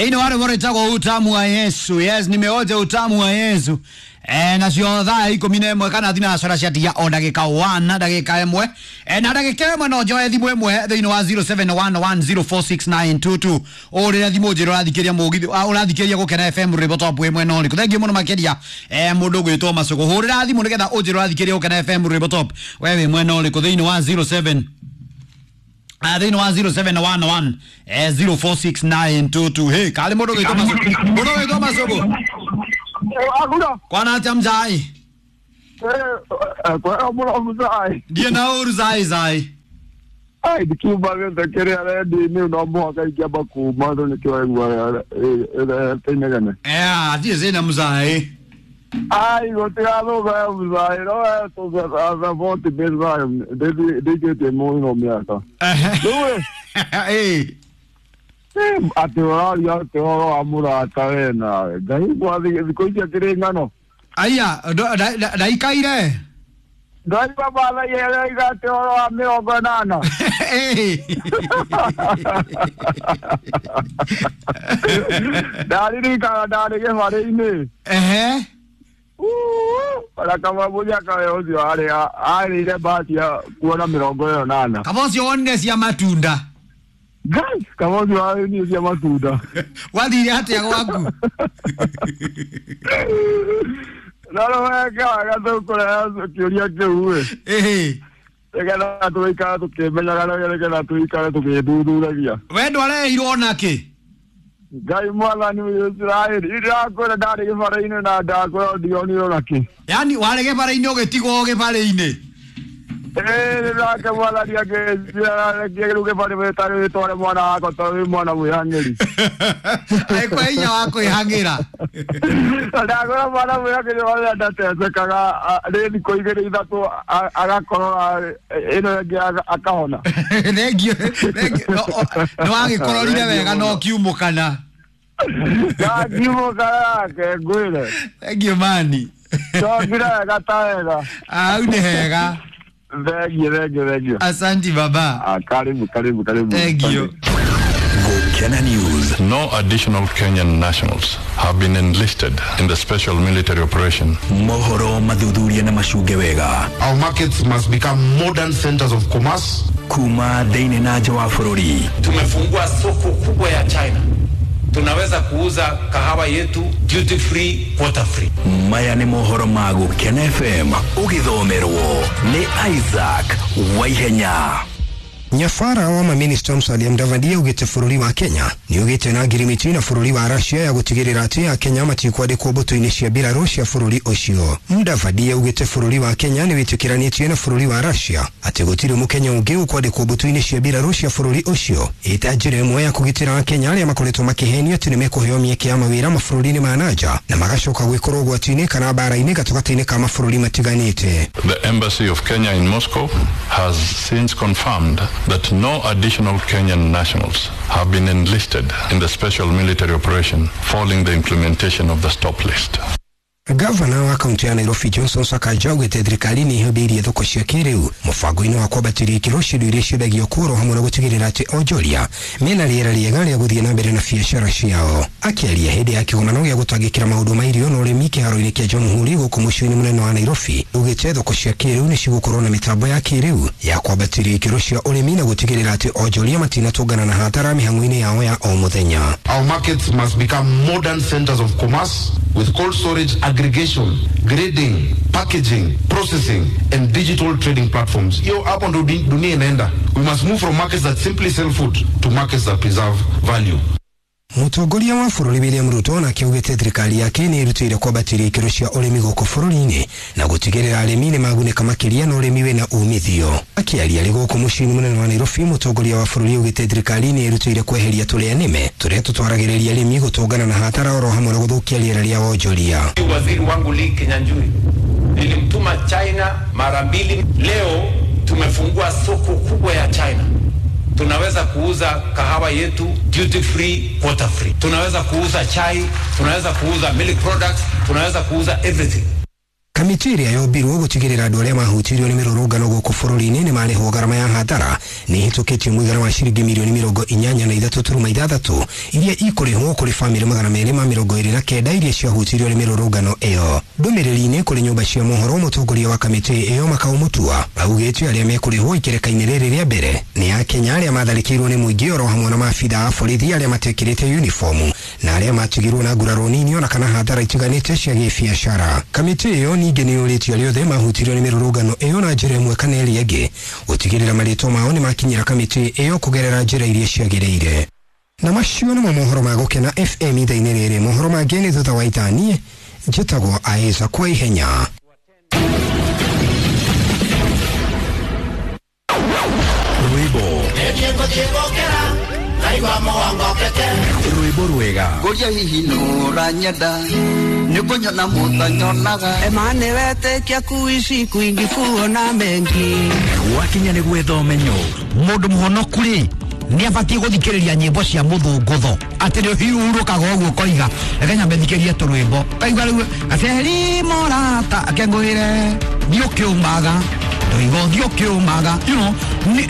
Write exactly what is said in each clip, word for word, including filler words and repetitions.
Ino wale wale utamu wa Yesu. Yes, nimeoja utamu wa Yesu. Eh, nacio thaa ikumi na ĩmwe kana thinacara ciatigia o ndagĩka wana ndagĩka ĩmwe eh, na ndagĩka ĩmwe no njoe thimũ ĩmwe thĩinĩ wa zero seven one one zero four six nine two two ũrĩre thimũ njĩra ũrathikĩria mũgithi ũrathikĩria Gũkena F M rwĩmbo top ĩmwe no rĩkũ thengiũ mũno makĩria eh, mũndũ ũgwĩtwo Macũgũ hũrĩra thimũ nĩgetha ũnjĩre ũrathikĩria Gũkena F M rwĩmbo top we wĩ mwena ũrĩkũ thĩinĩ wa zero seven thĩinĩ wa zero seven one one zero four six nine two two hey kali mũndũ ũgwĩtwo Macũgũ mũndũ ũgwĩtwo Macũgũ Agura. Kwana atia mzai? Eh, kwa mura mzai. Ndiye na uru zai zai. Ai ndikiuma gĩothe kĩrĩa rendi-inĩ no mũhaka ingĩamba kuma tondũ nĩkĩo waigua tĩinegene. Eh, ndiye zina mzai. Ai gũtigathũka mzai no tũthaboti mzai ndĩkĩtie mũno mĩaka. Rĩu ĩ atĩ ũraria atĩ ũhoro wa mũrata we nawe Ngai mwathi thikũ ici akĩrĩ ng'ano. Aya ndaikaire ndaigua mathaia aroiga atĩ ũhoro wa mĩrongo ĩnana. Ndaririkana ndarĩ gĩbarĩ-inĩ. Ehe. Ona kaba mũnyaka we ũcio arĩ arĩire bahati ya kuona mĩrongo ĩyo ĩnana. Kaba ũcio wonire cia matunda. Guys, kaba ũcio warĩire cia matunda. Wathire atĩa gwaku? No rĩu weka wega tũkũrehe kĩũria kĩu ĩ. Ĩhĩ. Nĩgetha tũikare tũkĩmenyaga na nĩgetha tũikare tũgĩthuthuragia. We ndwareheirwo nakĩ? Ngai mwathani wa Isiraeli, ndĩrakwĩra ndarĩ gĩbarĩ-inĩ na ndakwĩra ndionire onakĩ. Yaani warĩ gĩbarĩ-inĩ ũgĩtigwo gĩbarĩ-inĩ? Ĩĩ nake mwathani akĩnjĩra rĩu gĩbarĩ wĩtare wĩtware mwana wakwa tondũ wĩ mwana mwĩhang'ĩri. Agĩkũhe hinya wa kwĩhang'ĩra. Ndakwĩra mwana mwĩhang'ĩri ũrĩa ndatecekaga rĩ thikũ igĩrĩ ithatũ agakorora ĩno ĩngĩ akahona. Thengiũ, thengiũ. Nĩwagĩkororire wega na ũkiumũkana. Ndakiumũkana nake ngwĩre. Thengiũ mani. Ndokire wega ta wega. Hau nĩ hega. Thank you, thank you, thank you. Asante baba. Ah, karibu, karibu, karibu. Thank you. Gukena News. No additional Kenyan nationals have been enlisted in the special military operation. Mohoro mathuthuria na macunge wega. Our markets must become modern centers of commerce. Kuma thĩinĩ na nja wa bũrũri. Tumefungua soko kubwa ya China. Tunaweza kuuza kahawa yetu duty free, quota free. Maya nĩ mohoro ma Gukena F M ũgĩthomerwo nĩ Isaac Waihenya. Nyabara wa maminista Musalia Mudavadi augĩte bũrũri wa Kenya nĩ ũgĩte na ngirimiti na bũrũri wa Russia ya gũtigĩrĩra atĩ Akenya matikwandĩkwo mbũtũ-inĩ cia mbirarũ cia bũrũri ũcio. Mudavadi augĩte bũrũri wa Kenya nĩ wĩtĩkĩranĩtie na bũrũri wa Russia atĩ gũtirĩ mũkenya ũngĩ ũkwandĩkwo mbũtũ-inĩ cia mbirarũ cia bũrũri ũcio ĩta njĩra ĩmwe ya kũgitĩra Akenya arĩa makoretwo makĩhenio atĩ nĩmekũheo mĩeke ya mawĩra mabũrũri-inĩ ma nanja na magacoka gwĩkorwo ũgwati-inĩ kana mbara-inĩ gatagatĩ-inĩ ka mabũrũri matiganĩte. The Embassy of Kenya in Moscow has since confirmed that no additional Kenyan nationals have been enlisted in the special military operation following the implementation of the stop list. Gavana wa kaunti ya Nairobi Johnson Sakaja augĩte thirikari nĩ ĩhĩmbĩirie thoko cia kĩrĩu mũbango-inĩ wa kwambatĩria ikĩro cia indo iria ciendagio kũrwo hamwe na gũtigĩrĩra atĩ onjoria mena rĩera rĩega rĩa gũthiĩ na mbere na biacara ciao. Akĩaria hĩndĩ ya kĩgomano gĩa gũtangĩkĩra maũndũ ma irio na ũrĩmi kĩharo-inĩ kĩa Jamhuri gũkũ mũciĩ-inĩ mũnene wa Nairobi, augĩte thoko cia kĩrĩu nĩ cigũkorwo na mĩtambo ya kĩrĩu ya kwambatĩria ikĩro cia ũrĩmi na gũtigĩrĩra atĩ onjoria matinatũngana na hatara mĩhang'o-inĩ yao ya o mũthenya. Our markets must become modern centers of commerce with cold storage, aggregation, grading, packaging, processing and digital trading platforms. Hiyo hapo ndo dunia inaenda. We must move from markets that simply sell food to markets that preserve value. Mũtongoria wa bũrũri William Ruto nake augĩte thirikari yake nĩ ĩrutĩire kwambatĩria ikĩro cia ũrĩmi gũkũ bũrũri-inĩ na gũtigĩrĩra arĩmi nĩ magunĩka makĩria na ũrĩmi wĩna umithio. Akĩaria arĩ gũkũ mũciĩ-inĩ mũnene wa Nairobi, mũtongoria wa bũrũri augĩte thirikari nĩ ĩrutĩire kweheria tũrĩa nĩme tũrĩa tũtwaragĩrĩria arĩmi gũtũngana na hatara oro hamwe na gũthũkia rĩera rĩa wonjoria. Waziri wangu Lee Kinyanjui nilimtuma China mara mbili. Leo tumefungua soko kubwa ya China. Tunaweza kuuza kahawa yetu duty free, quota free. Tunaweza kuuza chai, tunaweza kuuza milk products, tunaweza kuuza everything. Kamĩtĩ ĩrĩa yombirwo gũtigĩrĩra andũ arĩa mahutirio nĩ mĩrũrũngano gũkũ bũrũri-inĩ nĩ marĩhwo ngarama ya hathara nĩ ĩhĩtũkĩtie mũigana wa ciringi mirioni mĩrongo inyanya na ithatũ turuma ithathatũ iria ikũrĩhwo kũrĩ bamĩrĩ magana merĩ ma mĩrongo ĩrĩ na kenda iria ciahutirio nĩ mĩrũrũngano ĩyo. Ndũmĩrĩri-inĩ kũrĩ nyũmba cia mohoro, mũtongoria wa kamĩtĩ ĩyo Makau Mutua augĩte arĩa mekũrĩhwo ikereka-inĩ rĩrĩ rĩa mbere nĩ Akenya arĩa matharĩkĩirwo nĩ mũingĩ oro hamwe na maabitha a borithi arĩa matekĩrĩte uniformu na arĩa matigirwo na nguraro nini ona kana hathara itiganĩte cia gĩbiacara. Kamĩtĩ ĩyo ningĩ nĩ yũrĩtie arĩa othe mahutirio nĩ mĩrũrũngano ĩyo na njĩra ĩmwe kana ĩrĩa ĩngĩ gũtigĩrĩra marĩtwa mao nĩ makinyĩra kamĩtĩ ĩyo kũgerera njĩra iria ciagĩrĩire. Na macio nĩmo mohoro ma Gũkena F M ithaa-inĩ rĩrĩ. Mohoro mangĩ nĩ thutha wa ithaa. Niĩ njĩtagwo Isaac kwa ihenya. Rwĩmbo rwĩmbo rwega Ngoria hihi nũranyenda nĩkũnyona mũtanyonaga Emane wetĩkia kuishi kwingi kuona mengi gwakinya nĩ gwetha ũmenyo. Mũndũ mũhonoku rĩ nĩ abatiĩ gũthikĩrĩria nyĩmbo cia mũthũngũtho atĩ nĩ ũhurũkaga ũguo ũkoiga reke nyambe thikĩrie tũrwĩmbo kaigua rĩu ateri morata akengũĩre thiĩ ũkĩũmaga tũigo thiĩ ũkĩũmaga, you know,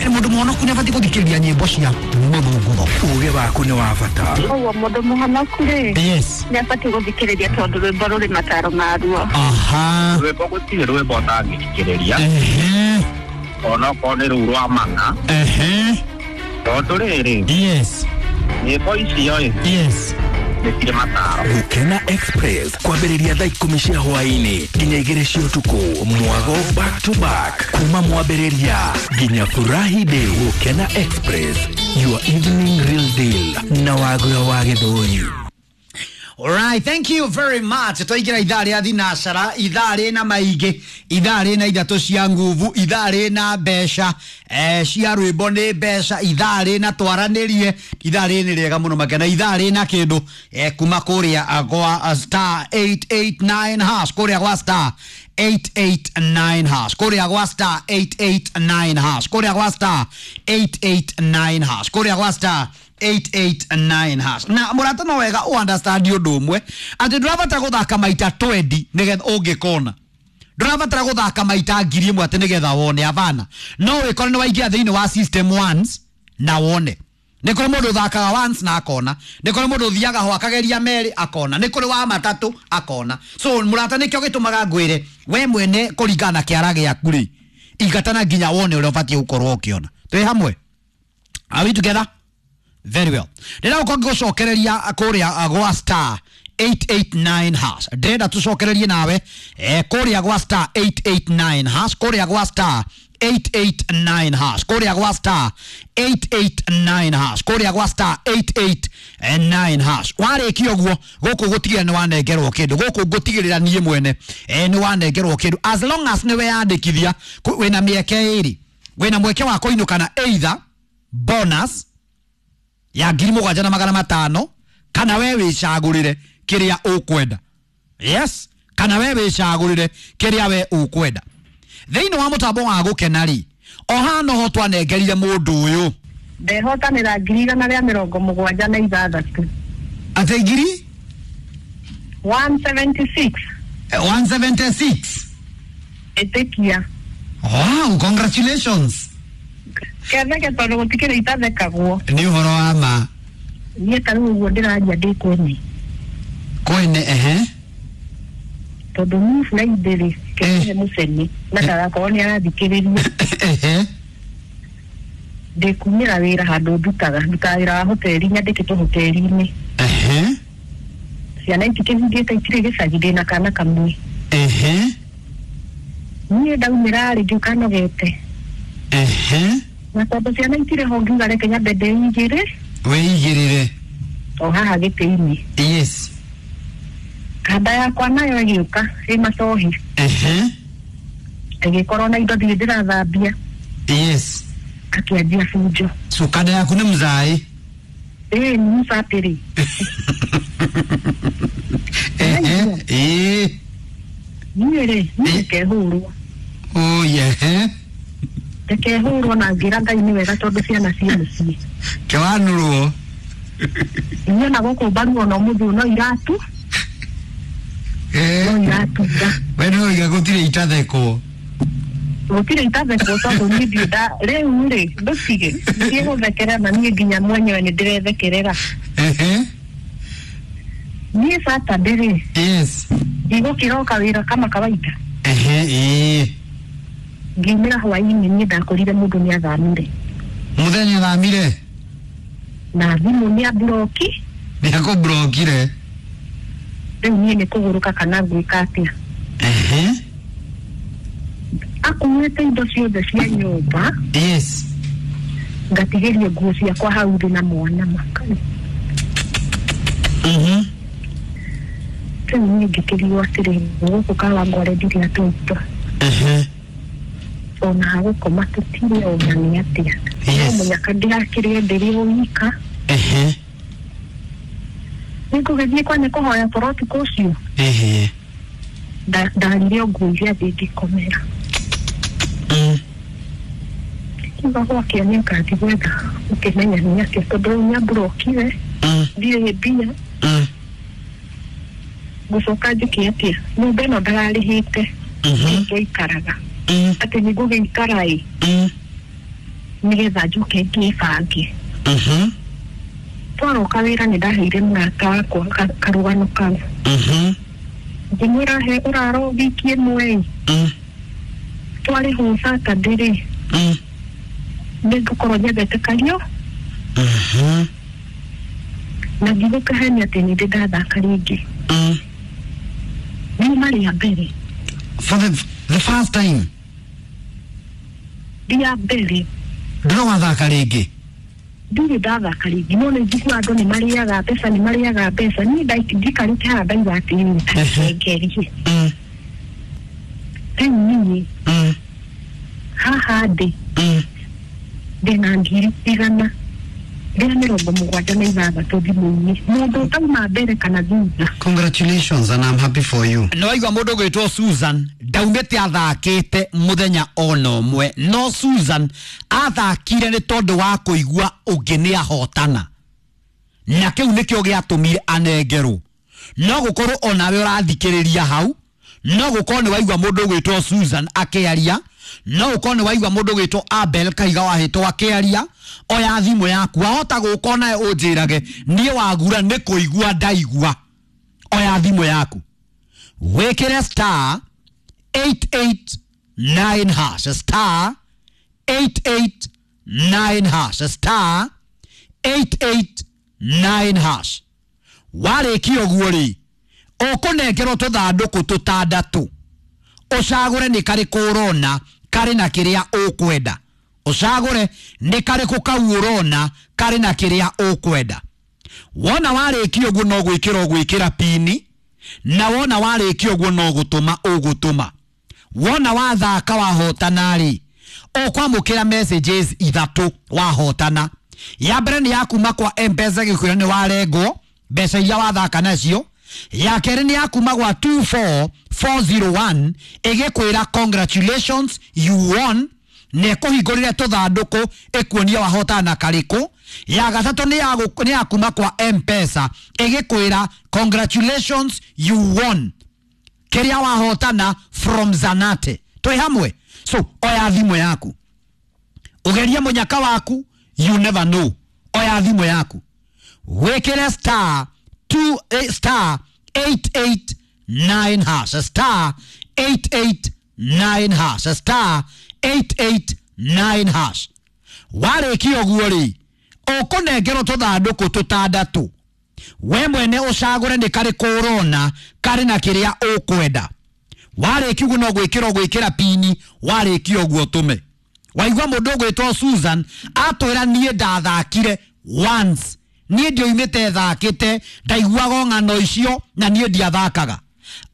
mũndũ mũhonoku nĩ abatiĩ gũthikĩrĩria nyĩmbo cia mũthũngũtho. Ũgĩ waku nĩ wa bata. Ũguo mũndũ mũhonoku rĩ yes nĩ abatiĩ gũthikĩrĩria tondũ rwĩmbo rũrĩ mataro maruo. Aha, rwĩmbo gũtirĩ rwĩmbo ũtangĩthikĩrĩria onokorwo nĩ rũu rwa mana. Ehe, tondũ rĩrĩ yes nyĩmbo icio ĩ yes nĩ cirĩ mataro. Gũkena Express kwambĩrĩria thaa ikũmi cia hwaĩ-inĩ nginya igĩrĩ cia ũtukũ, mwago back to back kuma mwambĩrĩria nginya furahi day. Gũkena Express, your evening real deal na Wagura wa Gĩthũri. Alright, thank you very much. Twaingĩra ithaa rĩa thinacara, ithaa rĩna maingĩ, ithaa rĩna ithatũ cia nguvu, ithaa rĩna mbeca, eh, cia rwĩmbo nĩ mbeca, ithaa rĩna twaranĩrie, ithaa rĩrĩ nĩ rĩega mũno makena, ithaa rĩna kĩndũ eh, kuma kũrĩa gwa star eight eight nine hash, kũrĩa gwa star eight eight nine hash, kũrĩa gwa star eight eight nine hash, kũrĩa gwa star eight eight nine hash, kũrĩa gwa star eight eight nine hash. Na mũrata no wega u understand ũndũ ũmwe atĩ ndũrabatara gũthaka maita twenty nĩgetha ũngĩkona, ndũrabatara gũthaka maita ngiri ĩmwe atĩ nĩgetha wone. Abana, no wĩkore nĩ waingĩra thĩinĩ wa system once na wone. Nĩ kũrĩ mũndũ ũthakaga once na akona, nĩ kũrĩ mũndũ ũthiaga ho akageria merĩ akona, nĩ kũrĩ wa matatũ akona. So mũrata, nĩkĩo gĩtũmaga ngwĩre we mwene kũringana na kĩara gĩaku rĩ, ingatana nginya wone ũrĩa ũbatiĩ gũkorwo ũkĩona. Twĩ hamwe? Are we together? Very well. Ndĩrenda gũkorwo ngĩgũcokereria kũrĩa gwa star eight eight nine hash. Ndĩrenda tũcokererie nawe eh, kũrĩa gwa star eight eight nine hash, kũrĩa gwa star eight eight nine hash, kũrĩa gwa star eight eight nine hash, kũrĩa gwa star eight eight nine hash. Warĩkia ũguo gũkũ gũtigĩrĩra nĩ wanengerwo kĩndũ, gũkũ ngũtigĩrĩra niĩ mwene eh, nĩ wanengerwo kĩndũ as long as nĩ weyandĩkithia. Wĩna mĩeke ĩrĩ, wĩna mweke wa kũinũka na either bonus ya ngiri mũgwanja na magana matano kana we wĩcagũrĩre kĩrĩa ũkwenda. Yes, kana we wĩcagũrĩre kĩrĩa we ũkwenda. Thĩinĩ wa mũtambo wa Gũkena rĩ, o haha noho twanengerire mũndũ ũyũ ndehotanĩra ngiri igana rĩa mĩrongo mũgwanja na ithathatũ. Atĩ ngiri one seventy six. one seventy six. Ĩtĩkia. Wow, congratulations. Ketheke tondũ gũtikĩrĩ itathekagwo. Nĩ ũhoro wa ma. Niĩ ta rĩu ũguo ndĩraria ndĩ kwene. Kwene, ehe. Tondũ niĩ Friday rĩ, kĩrĩ mũcene na ndagakorwo nĩ arathikĩrĩria. Ehe. Ndĩkumĩra wĩra handũ ndutaga, ndutaga wĩra wa hoteli, nyandĩkĩtwo hoteli-inĩ. Ehe. Ciana itikĩhingĩte itirĩ gĩcagi, ndĩna kana kamwe. Ehe. Niĩ ndaumĩra rĩ, ngĩũka nogete. Ehe. Na tondũ ciana itirĩ ho ngiuga reke nyambe ndĩigĩre. Wĩigĩrĩre. O haha gĩtĩ-inĩ. Yes. Kanda yakwa nayo ĩgĩũka ĩ macohi. Ehe. Ĩgĩkorwo na indo ndirĩ ndĩrathambia. Yes. Akĩanjia bunjo. So kanda yaku nĩ mzaĩ? Ĩĩ, nĩ mũcatĩrĩ. Ehe. Ĩĩ. Niĩ rĩ, niĩ ngehũrwo. Oh yeah. Ndekehũrwo na ngĩra Ngai nĩ wega tondũ ciana ciĩ mũciĩ. Kĩwanũrwo. Niĩ ona gũkũ mbaru ona ũmũthĩ no iratu. No iratura. We no iga gũtirĩ itathekwo. Gũtirĩ itathekwo tondũ niĩ ndirĩ nda rĩu rĩ ndũtige ndiĩ gũthekerera na niĩ nginya mwenyewe nĩ ndĩrethekerera. Ehe. Niĩ Saturday rĩ. Yes. Ndigũkĩroka wĩra kama kawaida. Ehe, ĩĩ. Ngiumĩra hwaĩ-inĩ niĩ ndakorire mũndũ nĩ athamire. Mũthenya athamire? Na thimũ nĩ amburoki. Nĩ akũmburokire? Rĩu niĩ nĩ kũgũrũka kana gwĩka atĩa. Ehe. Akuĩte indo ciothe cia nyũmba. Yes. Ngatigĩrio nguo ciakwa hau thĩ na mwana makari. Mhm. Rĩu niĩ ngĩkĩrigwo atĩrĩrĩ, gũkũ Kawangware ndirĩ atũitwa. Ehe. Ona hagũkoma tũtirĩ ona nĩ atĩa. Yes. No mũnyaka ndĩrakĩrĩe ndĩrĩ o wika. Ehe. Nĩngũgĩthiĩ kwa nĩ kũhoya toro ũtukũ ũcio. Ehe. Ndarire o nguo iria thĩ ngĩkomera. Mm. Kiuga gwakĩa nĩngathiĩ gwetha ũkĩmenya nĩ atĩa tondũ rĩu nĩamburokire. Mm. Ndirĩ mbia. Mm. Ngũcoka njĩke atĩa? Nyũmba ĩno ndararĩhĩte. Mhm. Twaikaraga. Mm. Atĩ nĩngũgĩikara ĩ. Mm. Nĩgetha njoke ngĩbange. Mhm. Twaroka wĩra nĩ ndaheire mũrata wakwa karũgano kau. Mhm. Ngĩmwĩra he ũraro wiki ĩmwe ĩ. Mm. Twarĩhwo Saturday rĩ. Mm. Nĩngũkorwo nyendete kario. Mhm. Na ndigũkĩhenia atĩ nĩ ndĩ ndathaka rĩngĩ. Mm. Riuma rĩa mbere. For the, the first time? Rĩa mbere. Ndũrĩ wathaka rĩngĩ? Ndirĩ ndathaka rĩngĩ no nĩ njiguaga andũ nĩ marĩaga mbeca nĩ marĩaga mbeca niĩ ndikarĩte haha ndauga atĩrĩrĩ ngerie. Mm. Rĩu niĩ Mm. haha ndĩ Mm. ndĩna ngiri igana rĩa mĩrongo mũgwanja na ithathatũ thimũ-inĩ mũndũ ũtauma mbere kana thutha. Congratulations and I'm happy for you. Nĩ waigua mũndũ ũgwĩtwo Susan ndaumĩte athakĩte mũthenya ona ũmwe no Susan athakire nĩ tondũ wa kũigua ũngĩ nĩ ahotana na kĩu nĩkĩo gĩatũmire anengerwo. No gũkorwo onawe ũrathikĩrĩria hau, no gũkorwo nĩ waigua mũndũ ũgwĩtwo Susan akĩaria, no gũkorwo nĩ waigua mũndũ ũgwĩtwo Abel Kaiga wahĩtwo akĩaria. Oya thimũ yaku wahota gũka onawe ũnjĩrage niĩ wagura nĩ kũigua ndaigua. Oya thimũ yaku wĩkĩre star eight eight nine hash star eight eight nine hash star eight eight nine hash. Warĩkia ũguo rĩ ũkũnengerwo tũthandũkũ tũtandatũ ũcagũre nĩ karĩkũ ũrona karĩ na kĩrĩa ũkwenda. Ũcagũre nĩ karĩkũ kau ũrona karĩ na kĩrĩa ũkwenda. Wona warĩkia ũguo no gwĩkĩra ũgwĩkĩra pini na wona warĩkia ũguo no gũtũma ũgũtũma. Wona wathaka wahotana rĩ ũkwamũkĩra messages ithatũ wahotana. Ya mbere nĩ ya kuma kwa M-Pesa gĩkwĩra nĩ warengwo mbeca iria wathaka nacio. Ya kerĩ nĩ ya kuma gwa two four four zero one ĩgĩkwĩra congratulations you won na ĩkũhingũrĩre tũthandũkũ ĩkuonia wahotana karĩkũ. Ya gatatũ nĩ ya nĩ ya kuma kwa M-Pesa ĩgĩkwĩra congratulations you won kĩrĩa wahotana from Zanate. Twĩ hamwe? So oya thimũ yaku ũgerie mũnyaka waku, you never know. Oya thimũ yaku wĩkĩre star two eh, star eight eight nine hash star eight eight nine hash star eight eight nine hash. Warĩkia ũguo rĩ ũkũnengerwo tũthandũkũ tũtandatũ we mwene ũcagũre nĩ karĩkũ ũrona karĩ na kĩrĩa ũkwenda. Warĩkia ũguo no gwĩkĩra ũgwĩkĩra pini, warĩkia ũguo ũtũme. Waigua mũndũ ũgwĩtwo Susan atwĩra niĩ ndathakire once, niĩ ndioimĩte thakĩte ndaiguaga ng'ano icio na niĩ ndiathakaga.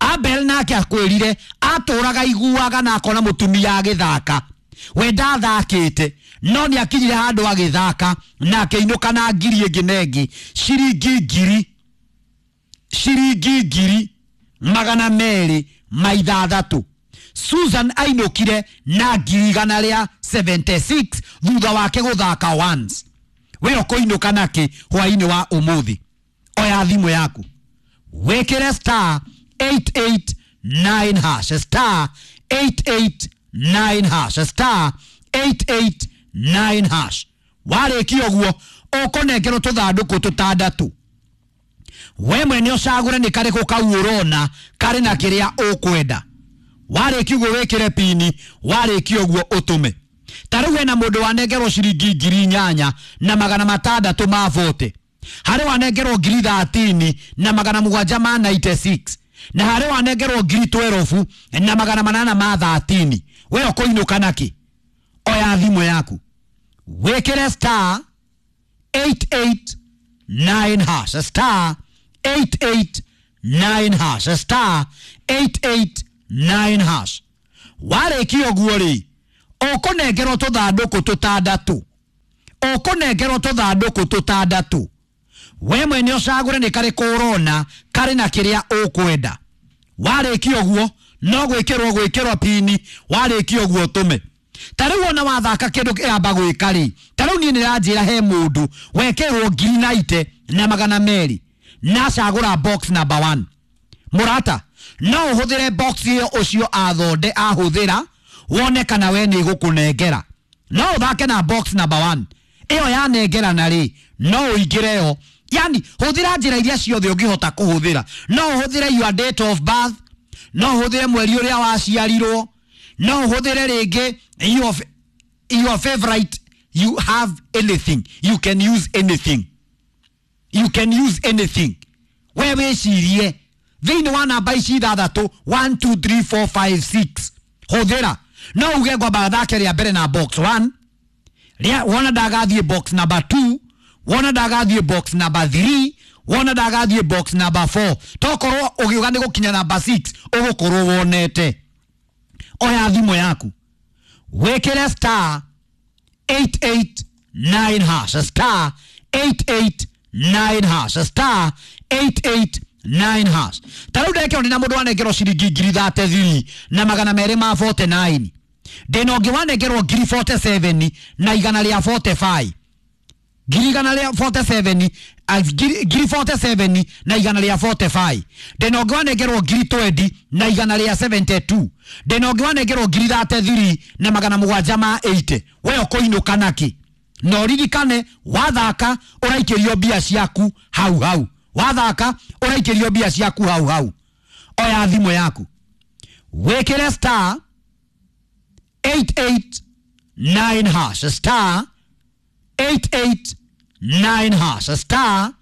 Abel nake akwĩrire atũraga iguaga na akona mũtumia agĩthaka, we ndathakĩte no nĩ akinyire handũ agĩthaka na akĩinũka na ngiri ĩngĩ na ĩngĩ ciringi ngiri ciringi ngiri magana merĩ ma ithathatũ. Susan ainũkire na ngiri igana rĩa seventy six thutha wake gũthaka once. We ũkũinũka nakĩ hwaĩ-inĩ wa ũmũthĩ? Oya thimũ yaku wĩkĩre star eight eight nine hash, star eight eight nine hash, star eight eight nine hash. Warĩkia ũguo ũkũnengerwo tũthandũkũ tũtandatũ, we mwene ũcagũre nĩ karĩkũ kau ũrona karĩ na kĩrĩa ũkwenda. Warĩkia ũguo wĩkĩre pini, warĩkia ũguo ũtũme. Ta rĩu hena mũndũ wanengerwo ciringi ngiri inyanya na magana matandatũ ma bote, harĩ wanengerwo ngiri thatini na magana mũgwanja ma ninety six, na harĩ wanengerwo ngiri twerobu na magana manana ma thatini. We ũkũinũka nakĩ? Oya thimũ yaku wĩkĩre star eight eight nine hash, star eight eight nine hash, star eight eight nine hash. Warĩkia ũguo rĩ, ũkũnengerwo tũthandũkũ tũtandatũ, ũkũnengerwo tũthandũkũ tũtandatũ, we mwene ũcagũre nĩ karĩkũ ũrona karĩ na kĩrĩa ũkwenda. Warĩkia ũguo no gwĩkĩrwo gwĩkĩrwo pini, warĩkia ũguo ũtũme. Ta rĩu ona wathaka kĩndũ kĩamba gwĩka rĩ, ta rĩu niĩ nĩranjĩra he mũndũ wekĩrwo ngiri naite na magana merĩ na acagũra box number one. Mũrata, no ũhũthĩre box ĩyo ũcio athonde ahũthĩra wone kana we nĩ ĩgũkũnengera. No ũthake na box number one ĩyo yanengera na rĩ, no ũingĩre yo. Yani hũthĩra njĩra iria ciothe ũngĩhota kũhũthĩra. No ũhũthĩre your date of birth, no ũhũthĩre mweri ũrĩa waciarirwo, no ũhũthĩre rĩngĩ your, your favorite. You have anything, you can use anything, you can use anything. We wĩcirie thĩinĩ wa namba ici ithathatũ one two three four five six, hũthĩra. No uge ngwamba thake rĩa mbere na box one, rĩa wona ndagathiĩ box number two, wona ndagathiĩ box number three, wona ndagathiĩ box number four. Tokorwo ũgiuga nĩ gũkinya number six ũgũkorwo wonete. Oya thimũ yaku wĩkĩre star eight eight nine hash, star eight eight nine hash, star eight eight nine hash. Ta rĩu ndekĩrwo ndĩna mũndũ wanengerwo ciringi ngiri thate thiri na magana merĩ ma forty nine, ndĩna ũngĩ wanengerwo ngiri forty seven na igana rĩa forty five, ngiri igana rĩa forty seven, ngiri forty seven na igana rĩa forty five, ndĩna ũngĩ wanengerwo ngiri twenty na igana rĩa seventy two, ndĩna ũngĩ wanengerwo ngiri thate thiri na magana mũgwanja ma eighty. We ũkũinũka nakĩ? Na ũririkane wathaka ũraikĩrio mbia ciaku hau hau, wathaka ũraikĩrio mbia ciaku hau hau. Oya thimũ yaku wĩkĩre star eight eight nine hash, star eight eight nine hash, star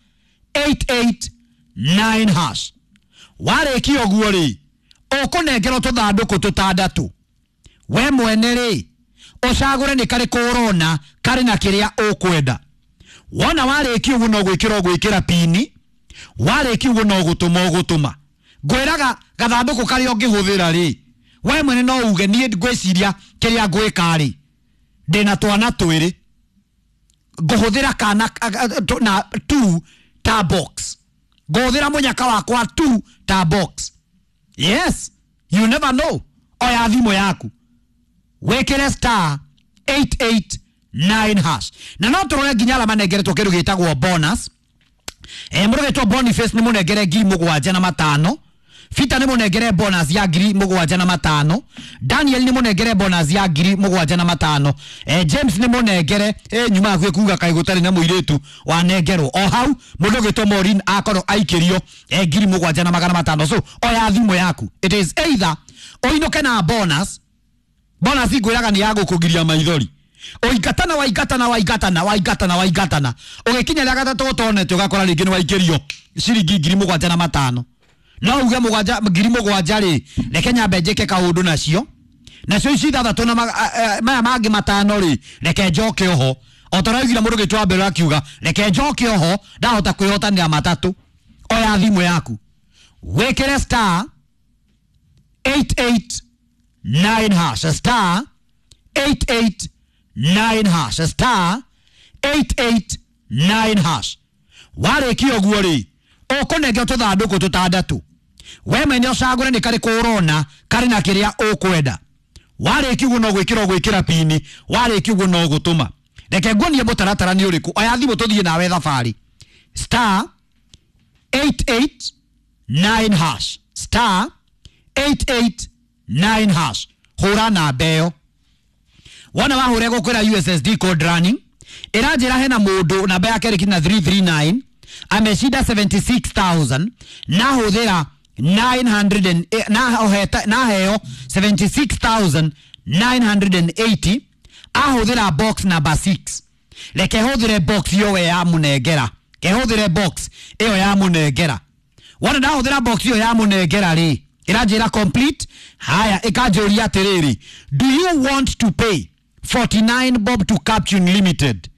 eight eight nine hash. Warĩkia ũguo rĩ, ũkũnengerwo tũthandũkũ tũtandatũ, we mwene rĩ ũcagũre nĩ karĩkũ ũrona karĩ na kĩrĩa ũkwenda. Wona warĩkia ũguo no gwĩkĩra ũgwĩkĩra pini, warĩkia ũguo no gũtũma ũgũtũma. Ngwĩraga gathandũkũ karĩa ũngĩhũthĩra rĩ, we mwene no uge niĩ ngwĩciria kĩrĩa ngwĩka rĩ, ndĩna twana twĩrĩ ngũhũthĩra kana na two ta box, ngũhũthĩra mũnyaka wakwa two ta box. Yes, you never know. Oya thimũ yaku wĩkĩre star eight eight nine hash. Na no tũrore nginya arĩa manengeretwo kĩndũ gĩtagwo bonus. Eh, mũndũ wĩtwo Boniface nĩ mũnengere ngiri mũgwanja na matano, Peter nĩ mũnengere bonus ya ngiri mũgwanja na matano, Daniel nĩ mũnengere bonus ya ngiri mũgwanja na matano, eh, James nĩ mũnengere eh, nyuma hakuhĩ kuga kaĩ gũtarĩ na mũirĩtu wanengerwo. O hau mũndũ ũgĩtwo Maureen akorwo aikĩrio eh, ngiri mũgwanja na magana matano. So oya thimũ yaku, it is either ũinũke na bonus. Bonus ngwĩraga nĩ ya gũkũgiria maithori, ũingatana waingatana waingatana waingatana waingatana, ũgĩkinya rĩa gatatũ ũtonete ũgakora rĩngĩ nĩ waikĩrio ciringi ngiri mũgwanja na matano. No uge mũgwanja ngiri mũgwanja rĩ, reke nyambe njĩke kaũndũ nacio, nacio ici ithathatũ na maya mangĩ matano rĩ, reke njoke oho. O ta ũrĩa mũndũ ũgĩtwo mbere akiuga reke njoke oho, ndahota kwĩhotanĩra matatũ. Oya thimũ yaku wĩkĩre star eight eight nine hash, star eight eight nine hash, star eight eight nine hash. Warĩkia ũguo rĩ, ũkũnengerwo tũthandũkũ tũtandatũ, we mwene ũcagũre nĩ karĩkũ ũrona karĩ na kĩrĩa ũkwenda. Warĩkia ũguo no gwĩkĩra ũgwĩkĩra pini, warĩkia ũguo no gũtũma. Reke nguonie mũtaratara nĩ ũrĩkũ. Oya thimũ tũthiĩ nawe thabarĩ. Star eight eight nine hash, Star eight eight nine hash. Hũra namba ĩyo. Wona wahũra ĩgũkwĩra U S S D code running. Ĩranjĩra hena mũndũ namba yake ĩrĩ na three three nine ameshinda seventy-six thousand na hũthĩra nine hundred and na heo seventy-six thousand nine hundred and eighty ahũthĩra box number six. Reke hũthĩre box ĩyo ya mũnengera. Ke hũthĩre box ĩyo ya mũnengera. Wona ndahũthĩra box ĩyo ya mũnengera rĩ, ĩranjĩra complete. Haya, ĩkanjũria atĩrĩrĩ, do you want to pay forty-nine bob to Captune Limited?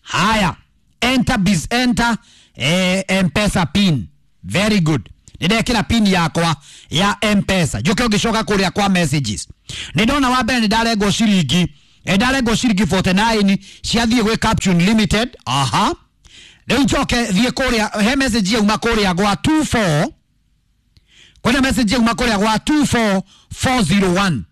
Haya, enter biz enter eh, M-Pesa pin. Very good. Nĩndekĩra pin yakwa ya M-Pesa. Njoke ũngĩcoka kũrĩa kwa messages. Nĩndona wa mbere nĩndarengwo ciringi, nĩndarengwo ciringi forty-nine ciathiĩ gwĩ Captune Limited. Aha. Rĩu njoke thiĩ kũrĩa he message yauma kũrĩa gwa two four. Kwĩna message yauma kũrĩa gwa two four four zero one.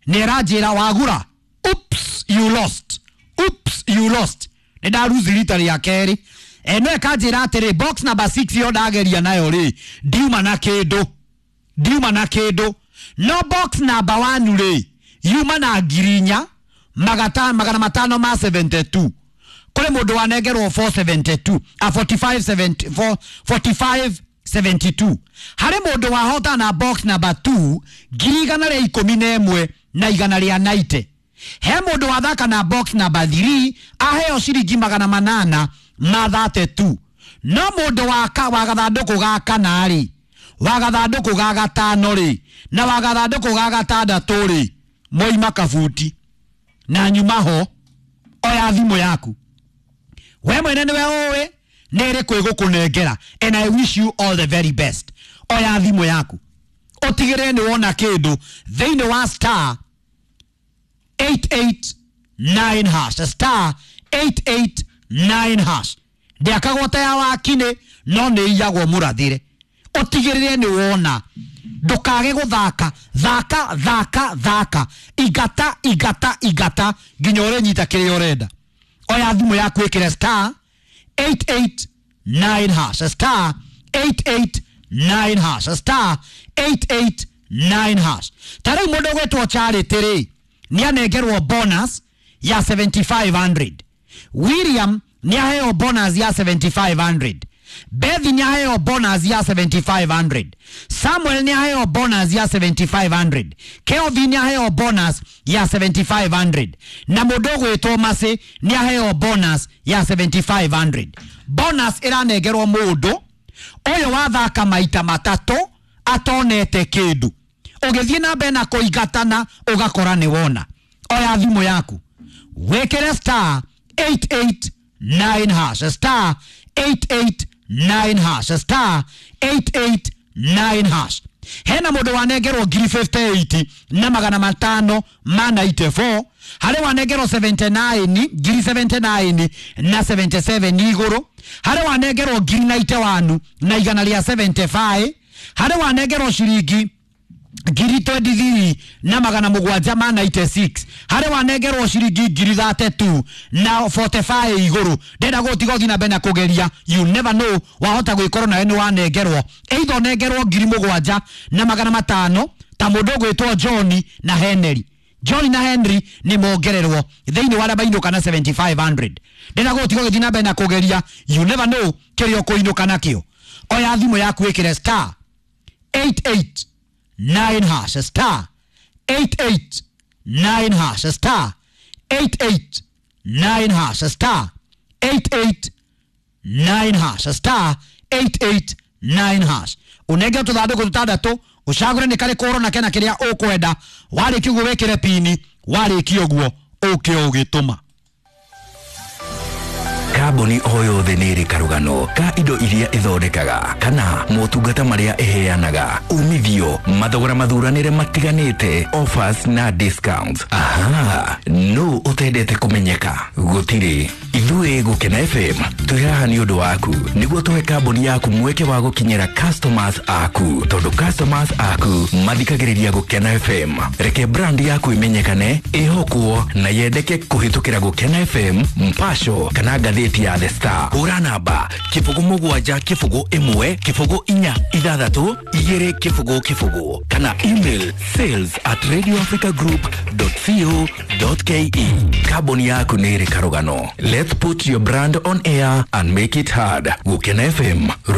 Nĩ ĩranjĩra wagura. Oops, you lost. Oops, you lost. Nĩ ndaruzi rita rĩa kerĩ. E no ĩkanjĩra atĩrĩ box number six yo ndageria nayo rĩ ndiuma na kĩndũ. Ndiuma na kĩndũ. No box number one rĩ yuma na ngiri inya magata magana matano ma seventy-two. Kũrĩ mũndũ wanengerwo four seventy-two, a forty-five seventy-four, forty-five seventy-two. Harĩ mũndũ wahota na box number two ngiri igana rĩa ikũmi na ĩmwe na igana rĩa ninety. He mũndũ wathaka na box number three aheo ciringi magana manana ma thirty-two. No mũndũ waka wa gathandũkũ ga kana rĩ, wa gathandũkũ ga gatano rĩ, na wa gathandũkũ ga gatandatũ rĩ, moima kabuti na nyuma ho. Oya thimũ yaku we mwene nĩwe ũĩ nĩ ĩrĩkũ ĩgũkũnengera, and I wish you all the very best. Oya thimũ yaku ũtigĩrĩre nĩ wona kĩndũ thĩinĩ wa star eight eight nine hash, star eight eight nine hash. Ndĩakagwo ta ya wakinĩ no nĩ iyagwo mũrathĩre. Ũtigĩrĩre nĩ wona, ndũkage gũthaka. Thaka thaka thaka, igata igata igata nginya ũrĩnyita kĩrĩa ũrenda. Oya thimũ yaku ĩkĩre star eight eight nine hash, star eight eight nine hash, star eight eight nine hash. Ta rĩu mũndũ ũgwĩtwo Charity rĩ nĩanengerwo bonus ya seventy-five hundred. William nĩaheo bonus ya seventy-five hundred. Bethi nĩaheo bonus ya seventy-five hundred. Samuel nĩaheo bonus ya seventy-five hundred. Kelvin nĩaheo bonus ya seventy-five hundred. Na mũndũ ũgwĩtwo Masi nĩaheo bonus ya seventy-five hundred. Bonus ĩranengerwo mũndũ ũyũ wathaka maita matatũ atonete kĩndũ. Ũgĩthiĩ na mbere na kũingatana ũgakora nĩ wona. Oya thimũ yaku wĩkĩre star eight eight nine hash, star eight eight nine hash, star eight eight nine hash. Hena mũndũ wanengerwo ngiri fifty-eight na magana matano ma ninety-four. Harĩ wanengerwo seventy-nine, ngiri seventy-nine na seventy-seven igũrũ. Harĩ wanengerwo ngiri ninety-one na igana rĩa seventy-five. Harĩ wanengerwo ciringi ngiri twenty-three na magana mũgwanja ma ninety-six. Harĩ wanengerwo ciringi ngiri thirty-two na forty-five igũrũ. Ndenda gũtiga ũthiĩ na mbere na kũgeria, you never know, wahota gwĩkorwo nawe nĩ wanengerwo either ũnengerwo ngiri mũgwanja na magana matano ta mũndũ ũgwĩtwo John na Henry. John na Henry nĩ mongererwo thĩinĩ wa arĩa mainũka na seventy-five hundred. Ndenda gũtiga ũgĩthiĩ na mbere na kũgeria, you never know kĩrĩa ũkũinũka nakĩo. Oya thimũ yaku ĩkĩre star eight eight nine hash, star eight eight nine hash, star eight eight nine hash, star eight eight nine hash, star eight eight nine hash. Unenge tũthandũkũ tũtandatũ ũcagũre nĩ karĩkũ ũrona kena kĩrĩa ũkwenda. Warĩkia ũguo wĩkĩre pini, warĩkia ũguo ũke ũgĩtũma. Kambuni o yothe nĩ ĩrĩ karũgano ka indo iria ĩthondekaga kana motungata marĩa ĩheanaga, umithio, mathogora mathuranĩre matiganĩte, offers na discounts. Aha, no ũtendete kũmenyeka? Gũtirĩ. Ithuĩ Gũkena F M twĩ haha nĩ ũndũ waku nĩguo tũhe kambuni yaku mweke wa gũkinyĩra customers aku, tondũ customers aku mathikagĩrĩria Gũkena F M. Reke brand yaku imenyekane, ĩhokwo na yendeke kũhĩtũkĩra Gũkena F M, Mpasho kana ngathĩti ngathĩti ya The Star. Hũra namba kĩbũgũ mũgwanja kĩbũgũ ĩmwe kĩbũgũ inya ithathatũ igĩrĩ kĩbũgũ kĩbũgũ kana email sales at radioafricagroup dot co dot ke. Kambuni yaku nĩ ĩrĩ karũgano. Let's put your brand on air and make it heard. Gũkena F M.